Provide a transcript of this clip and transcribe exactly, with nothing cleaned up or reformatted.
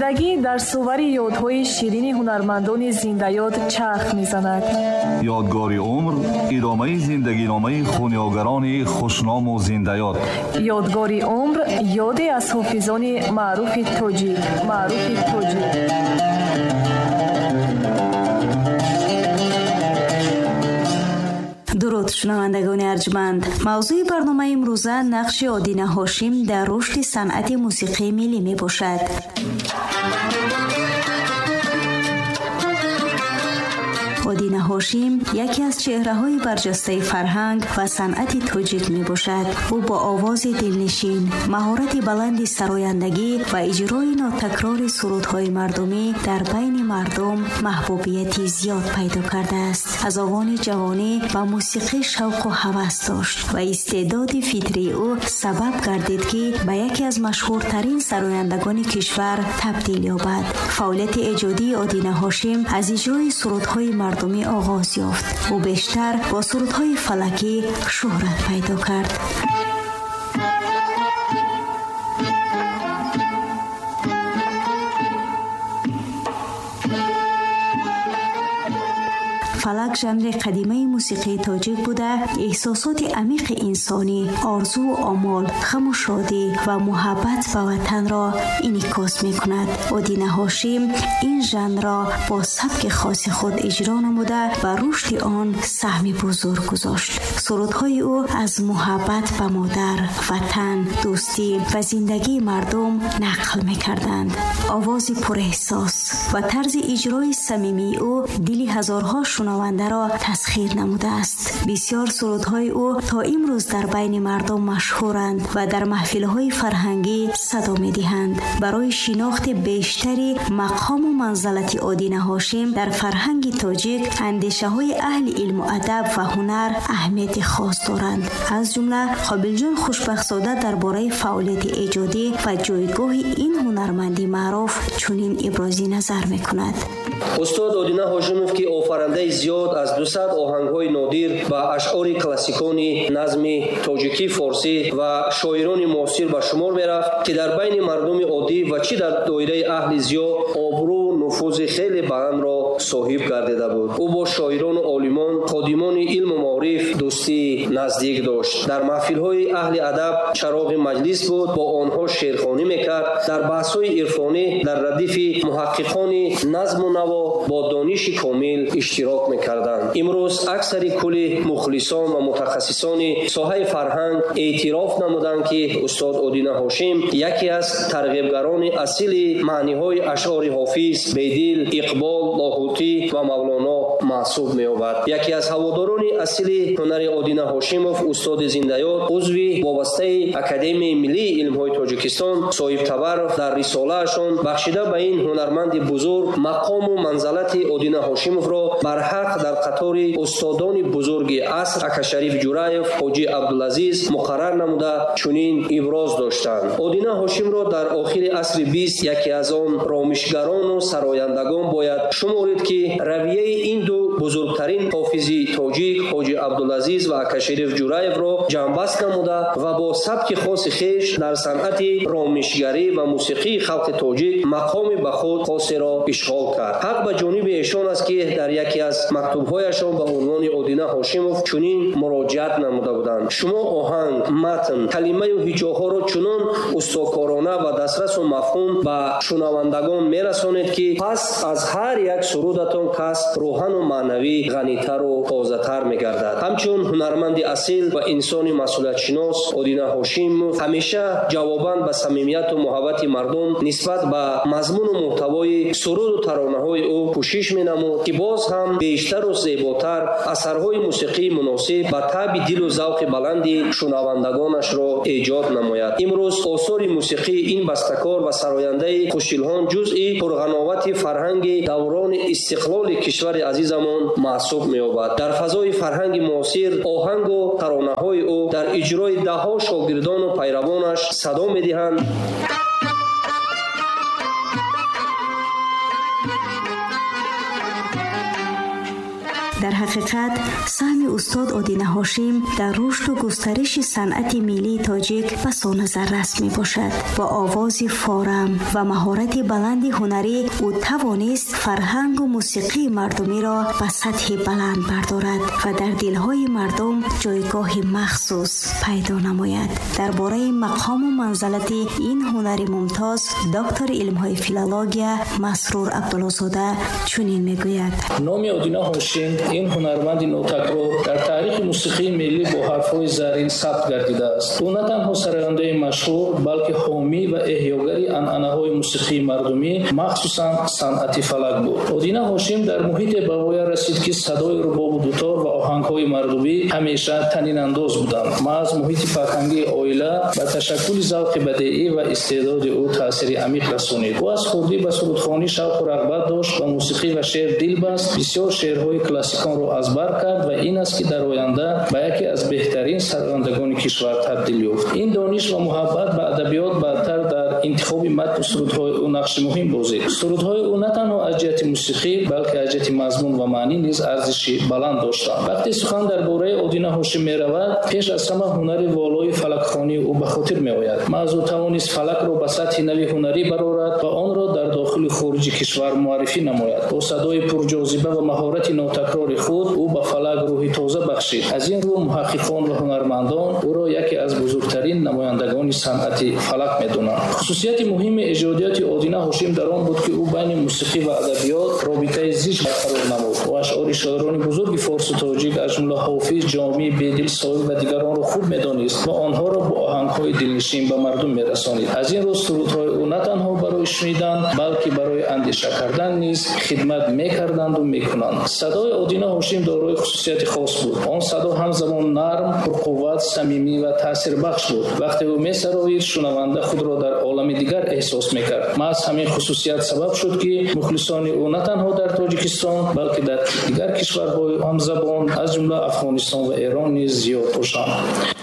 Зиндагӣ дар сувари ёдҳои ширини ҳунармандони зиндаёд чарх мезанад. Ёдгори умр идомаи зиндагиномаи хунёгарони хушному зиндаёд. Ёдгори умр ёде аз ҳофизони маъруфи тоҷик, маъруфи тоҷик. Дуруд шунавандагони арҷманд. Мавзӯи барномаи имрӯза нақши Одина Ҳошим дар рушди санъати мусиқии миллӣ мебошад. Одина Ҳошим яке аз чеҳраҳои барҷастаи фарҳанг ва санъати тоҷик мебошад. Ӯ бо овози дилнишин, маҳорати баланди сарояндагӣ ва иҷрои нотакрори сурудҳои мардумӣ дар байни мардум маҳбубияти зиёд пайдо кардааст. Аз овони ҷавонӣ ба мусиқӣ шавқу ҳавас дошт ва истеъдоди фитрии ӯ сабаб гардид, ки ба яке аз машҳуртарин сарояндагони кишвар табдил ёбад. Фаъолияти эҷодии Одина Ҳошим аз иҷрои сурудҳои мардумӣ оғоз ёфт. Ӯ бештар бо сурудҳои фалакӣ шӯҳрат пайдо кард. Фалак жанри қадимаи мусиқии тоҷик буда, эҳсосоти амиқи инсонӣ, орзуву омол, ғаму шодӣ ва муҳаббат ба ватанро инъикос мекунад. Одина Ҳошим ин жанрро бо сабки хоси худ иҷро намуда ба рушди он саҳми бузург гузошт. Сурудҳои ӯ аз муҳаббат ба модар, ватан, дӯстӣ ва зиндагии мардум нақл мекарданд. Овози пурэҳсос ва тарзи иҷрои самимии ӯ дили ҳазорҳо шунавандаро тасхир намудааст. Бисёр сурудҳои ӯ то имрӯз дар байни мардум машҳуранд ва дар маҳфилҳои фарҳангӣ садо медиҳанд. Барои шинохти бештари мақому манзалати Одина Ҳошим дар фарҳанги тоҷик, андешаҳои аҳли илму адаб ва ҳунар аҳамияти хос доранд. Аз ҷумла Қобилҷон Хушбахтзода дар бораи фаъолияти эҷодӣ ва ҷойгоҳи ин ҳунарманди маъруф чунин ибрози назар мекунад. Устод Одина Ҳошимов, ки офарандаи зиёд аз дусад оҳангҳои нодир ва ашъори классикони назми тоҷикӣ, форсӣ ва шоирони муосир ба шумор мерафт, ки дар байни мардуми оддӣ ва чӣ дар доираи аҳли зиё обрӯ нуфузи хеле баландро соҳиб гардида буд. Ӯ бо шоирону олимон, ходимони илму маориф дӯстии наздик дошт. Дар маҳфилҳои аҳли адаб чароғи маҷлис буд, бо онҳо шеърхонӣ мекард. Дар баҳсҳои ирфонӣ дар радифи муҳаққиқони назму наво бо дониши комил иштирок мекарданд. Имрӯз аксари кулли мухлисон ва мутахассисони соҳаи фарҳанг эътироф намуданд, ки устод Одина Ҳошим яке аз тарғибгарони асили маъниҳои ашъори Ҳофиз, Бедил, Иқбол, Лоҳутӣ ва Мавлоно маҳсуб меёбад. Яке аз ҳаводорони асили ҳунари Одина Ҳошимов, устоди зиндаёд, узви вобастаи Академияи миллии илмҳои Тоҷикистон Соҳиб Табаров дар рисолаашон бахшида ба ин ҳунарманди бузург мақому манзалати Одина Ҳошимовро барҳақ дар қатори устодони бузурги аср Акашариф Ҷураев, Ҳоҷи Абдулазиз муқаррар намуда чунин иброз доштанд. Одина Ҳошимро дар охири асри бист яке аз он ромишгарону сарояндагон бояд шуморид, ки равияи ин ду бузургтарин ҳофизи тоҷик Ҳоҷи Абдулазиз ва Акашариф Ҷураевро ҷамъбаст намуда ва бо сабки хоси хеш дар санъати ромишгарӣ ва мусиқии халқи тоҷик мақоми ба худ хосеро ишғол кард. Ҳақ ба ҷониби эшон аст, ки дар яке аз мактубҳояшон ба унвони Одина Ҳошимов чунин муроҷиат намуда буданд: шумо оҳанг, матн, калимаю ҳиҷоҳоро чунон устокорона ва дастрасу мафҳум ба шунавандагон мерасонед, ки пас аз ҳар як сурудатон кас рӯҳану маънавӣ ғанитару тозатар мегардад. Ҳамчун ҳунарманди асил ва инсони масъулиятшинос, Одина Ҳошимов ҳамеша ҷавобан ба самимияту муҳаббати мардум нисбат ба мазмуну муҳтавои суруду таронаҳои ӯ кӯшиш менамуд, ки боз ҳам бештару зеботар асарҳои мусиқии муносиб ба таъби дилу завқи баланди шунавандагонашро эҷод намояд. Имрӯз осори мусиқии ин бастакор ва сарояндаи хушилҳон ҷузъи пурғановати фарҳанги даврони истиқлоли кишвари азизамон маҳсуб меёбад. Дар фазои фарҳанги муосир оҳангу таронаҳои ӯ дар иҷрои даҳҳо шогирдону пайравонаш садо медиҳанд. Дар Дар ҳақиқат, саҳми устод Одина Ҳошим дар рушду густариши санъати миллии тоҷик басо назаррас мебошад. Бо овози форам ва маҳорати баланди ҳунарӣ ӯ тавонист фарҳангу мусиқии мардумиро ба сатҳи баланд бардорад ва дар дилҳои мардум ҷойгоҳи махсус пайдо намояд. Дар бораи мақому манзалати ин ҳунари мумтоз доктори илмҳои филология Масрур Абдуллозода чунин мегӯяд: Номи Одина Ҳошим, ин ҳунарманди нотакрор, дар таърихи мусиқии миллӣ бо ҳарфҳои заррин сабт гардидааст. Ӯ на танҳо сарояндаи машҳур, балки ҳомӣ ва эҳёгари анъанаҳои мусиқии мардумӣ, махсусан санъати фалак буд. Одина Ҳошим дар муҳите ба воя расид, ки садои рубобу дутор ва оҳангҳои мардумӣ ҳамеша танинандоз буданд. Маҳз муҳити фарҳангии оила ба ташаккули завқи бадеӣ ва истеъдоди ӯ таъсири амиқ расонид. Ӯ аз хурдӣ ба сурудхонӣ шавқу рағбат дошт, ба мусиқӣ ва шеър дил баст, бисёр шеърҳои классиконро аз бар кард ва ин аст, ки дар оянда ба яке аз беҳтарин сарояндагони кишвар табдил ёфт. Ин дониш ва муҳаббат ба адабиёт баъдтар дар интихоби матну сурудҳои ӯ нақши муҳим бозид. Сурудҳои ӯ на танҳо аз ҷиҳати мусиқӣ, балки аз ҷиҳати мазмун ва маънӣ низ арзиши баланд доштанд. Вақте сухан дар бораи Одина Ҳошим меравад, пеш аз ҳама ҳунари волои фалакхонии ӯ ба хотир меояд. Маҳз ӯ тавонист фалакро ба сатҳи нави ҳунарӣ барорад ва онро дар дохили хориҷи кишвар муаррифӣ намояд. Бо садои пурҷозиба ва маҳорати нотакрори худ ӯ ба фалак рӯҳи тоза бахшид. Аз ин рӯ муҳаққиқон ва ҳунармандон ӯро яке аз бузургтарин намояндагони санъати фалак медонанд. Хусусияти муҳими эҷодиёти Одина Ҳошим дар он буд, ки ӯ байни мусиқӣ ва адабиёт робитаи зич барқарор намуд. Ӯ ашъори шоирони бузурги форсу тоҷик, аз ҷумла Ҳофиз, Ҷомӣ, Бедил, Соил ва дигаронро хуб медонист ва онҳоро бо оҳангҳои дилнишин ба мардум мерасонид. Аз ин рӯ сурудҳои ӯ на танҳо барои шунидан, балки барои андеша кардан низ хидмат мекарданду мекунанд. Садои Одина Ҳошим дорои хусусияти хос буд. Он садо ҳамзамон нарм, пурқувват, самимӣ ва таъсирбахш буд. Вақте ӯ месароид, шунаванда худро дар олами дигар эҳсос мекард. Маҳз ҳамин хусусият сабаб шуд, ки мухлисони ӯ на танҳо дар Тоҷикистон, балки дар дигар кишварҳои ҳамзабон, аз ҷумла Афғонистон ва Эрон низ зиёд бошанд.